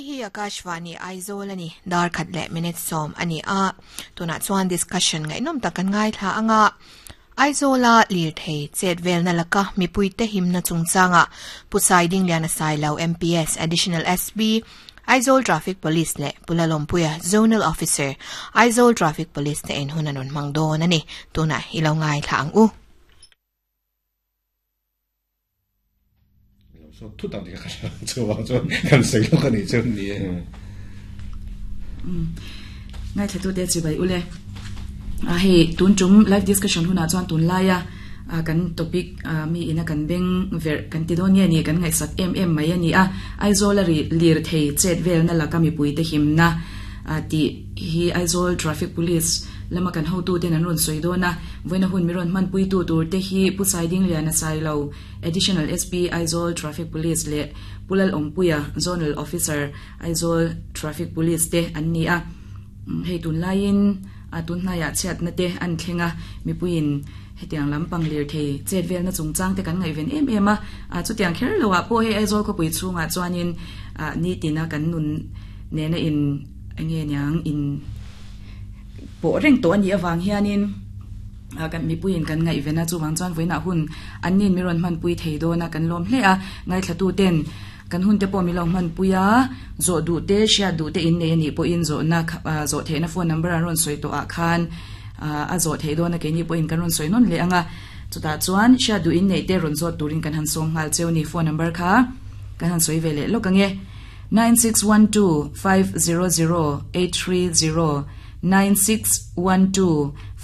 hi Akashvani Aizawl a ni, dar khat leh minute sawm a ni a. Tunah chuan discussion ngaihnawm tak kan ngaithla anga Aizawla lirthei chet velna laka mipuite himna chungchanga Pu Saidingliana Sailo MPS Additional SP Aizawl Traffic Police leh Pu Lalawmpuia Zonal Officer Aizawl Traffic Police te en hun an rawn hmang dawn a ni. Tunah i lo ngaithla ang u. So thu tak ka chuwang chuan kan sei lo ka ni chu ni e. Ngai thla tu te chi bai ule. A hei tun tum live discussion huna chuan tun laia kan topic mi ina kan beng ver kan ti dawn nge ni kan ngaihsak em em mai ani a. Aizawl a ri lir thei chet vel na laka mipui te himna ti hi Aizawl Traffic Police lama kan hotu ten an rawn sawi dawn a. Vawiina hun mi rawn hmanpuitu tur te hi Pu Saidingliana Sailo, Additional SP, Aizawl Traffic Police leh Pu Lalawmpuia, Zonal Officer, Aizawl Traffic Police te an ni a. Hei tunlaiin tun hnaiah chhiatna te an thleng a, mipuiin hetiang lampang lirthei chet velna chungchang te kan ngaihven em em a. Chutiang kher loah pawh hei Aizawl khawpui chhungah chuanin nitina kan nun nena in enge niang in pawh reng tawh a nih avang hianin kan mipuiin kan ngaihven a, chuvang chuan vawiinah hun an nin mi rawn hmanpui thei dawn a, kan lawm hle a, ngaithlatuten kan hun te pawh min lo hmanpui a, zawh duh te hriat duh te in nei a nih pawhin zawhna zawh theihna phone number an rawn sawi tawh ah khan a zawh theih dawn a, keini pawhin kan rawn sawi nawn leh ang a, chutah chuan hriat duh in neih te rawn zawt turin kan han sawm nghal cheu a ni, phone number kha kan han sawi ve leh lawk ang e. 9612 500 830 9612 5.